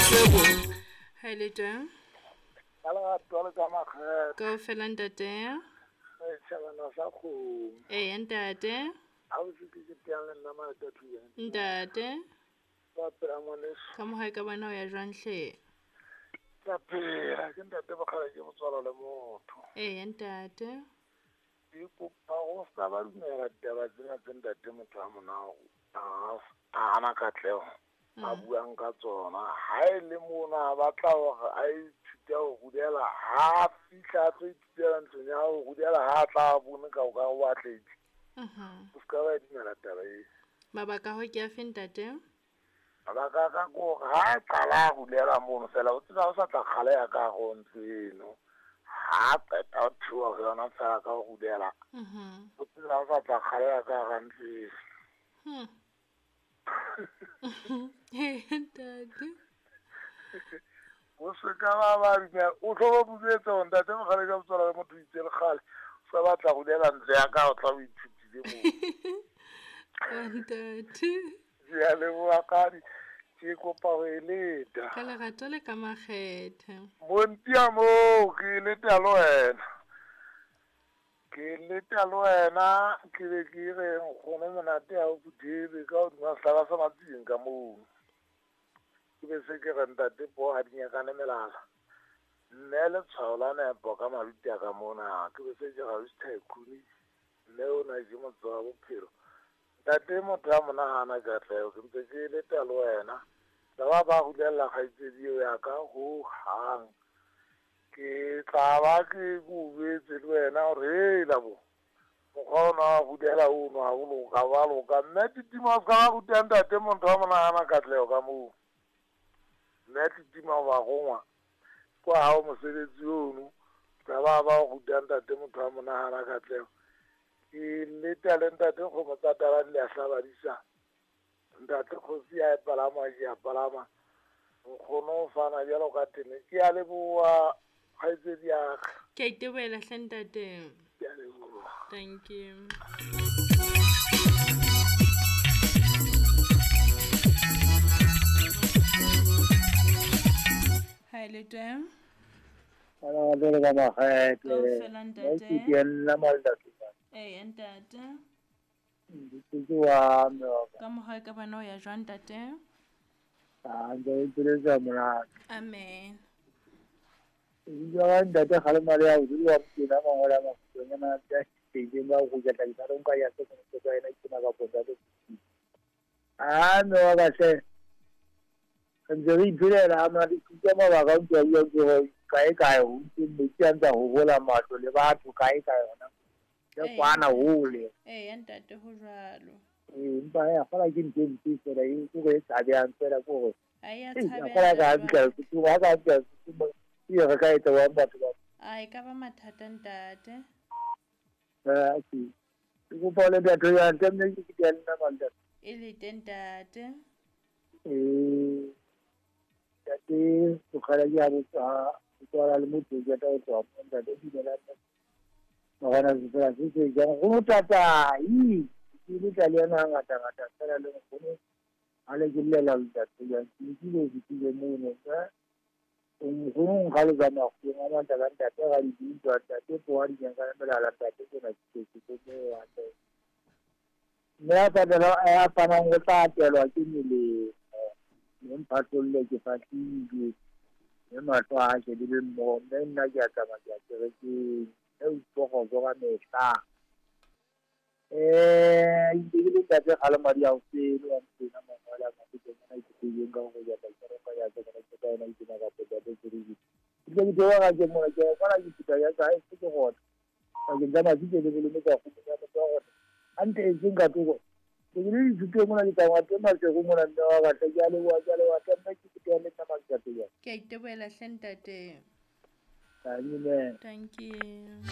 Ha le teng? Ka lerato le ka makgethe. Kaofela ntate. Setjhabana sa kgomo. Eya ntate. Ha o se ke teang le nna malata thuya. Ntate. Ba phela ngwaneso. Ka mo hae ka bona o ya jwang hle? Ka phela ke ntate bokgale ke motswalo le motho. Eya ntate. Ke kopa go ska ba dumela ditaba tsena tse ntate motho a monao a hana katleho. A buang ka tsona. Ha e le mona a batla hore a ithute ho rudela, ha fihla a tlo ithutela ntlong ya ho rudela, ha tla bone ka o ka o atlehile. O ska ba dumela taba e. Mabaka ho ke afe ntate? Mabaka ka ke hore ha a qala a rulela mono fela, o tseba o sa tla kgaleha ka hare ho ntlo eno. Ha qeta ho theoha ho yona fela ka ho rulela. O tseba o sa tla kgaleha ka hara ntlo eno. Ntate. O se ka ba dumela, o tlo ba buletsa hore ntate mokgale ka motswala le motho o itse le kgale. O sa batla ho rulela ntlo ya ka, o tla o ithutile moo. Ntate. Ke a leboha kgadi, ke kopa ho e leta. Ka lerato le ka makgethe. Montia moo, ke e leta le wena. Ke leta le wena, ke be ke re nkgono monate ha o phuthebe ka hodima sehlaba sa matsing ka moo. Ke be se ke re ntate po ha di nyakane melala. Mme letshwao la nepo ka maruti a ka mona, ke be se ke re ausi Tycoon, mme ona ke motse wa bophelo. Ntate motho a monahana katleho, ke ntse ke leta le wena. Tla ba rulella kgaitsedi eo ya ka ho hang. Ke tla ba ke go jwetse le wena hore hela bo mokgwa ona wa rudela ono ha o loka, wa loka. Mme Titima o ska ba ruta ntate motho a monahana katleho ka moo. Mme Titima o ba rongwa kwa hao mosebetsi ono, tla ba ruta ntate motho a monahana katleho. Ke leta le ntate kgomo tsa tala di a hlabadisa. Ntate kgosi ya palama ke a palama. Nkgono o fana jwalo ka tene. Ke a leboha kgaitsedi ya ka. Ke a itebohela hle ntate. Ke a leboha. Thank you. Ha le teng? Ka lerato le ka makgethe. Kaofela ntate. Ke nna Malata. Eya ntate. Ke wa mme wa ka. Ka mo hae ka bona o ya jwang ntate? Ah, ntse ke le monate. Amen. Ebile ka ntate kgalema le ya ho dula wa mokena mangolo a makgutshwanyana a teng ba go ja tla ke nka ya se ke ka ena ke na ka pota le. Ah, mme wa ka hle. Re ntse re iphelela ha mona ke ka mabaka o ntse a bua ke hore kae kae ho ntse metsi a ntse a hohola matlo le batho kae kae hona. Ke kwana hole. Eya ntate ho jwalo. Empa ya fela ke ntho e mpe fela e ke go e tshabehang fela ke hore. A ya Ei, tshabeha a fela ka jwang? fihla Sesotho, ha ka fihla Sesotho, e re ka etsa wa batho ba. A e ka ba mathata ntate. Ke kopa le ntate ya ntate mme ke ke nna mantate. E le teng ntate. Ntate bokgala ke a botsa tswala le motho ke tla tswa mo ntate dumela nna. Morena se fela se se jang go tata i ke le tla le yena ngata ngata fela le nkgono ha le ke llela ntate ya ke le ke le mono ka nkgono nka le tsamaya go ngwa ntate ka ntate ga di dintwa ntate po ha di nyaka melala ntate ke na ke ke mo wa ntate. Mme a patela a fanang go tla atelwa ke melemo mme mphatlolle ke fahlilwe mme mahlo a shebile mmoho mme nna ke a tsamaya ke ya kerekeng e utlwa ka mehla. Ke le ntate kgalema di a o sele wa motena mangwele a mafetonyana ke teng ka go ja ka kereka ya ka ke ka ena ke na ka pota ke re ke ke ke wa ke mona ke kwala ke fita ya ka e ke gona ka ke tsama ke le le ka go ya motho wa gona ante e seng ka toko ke le dithuto mona ke tsamaya teng masego mona mme wa ka ke a leboha ke a leboha ke nna ke ke le nna matsatsi Ke a itebohela hle ntate. Amen. Thank you.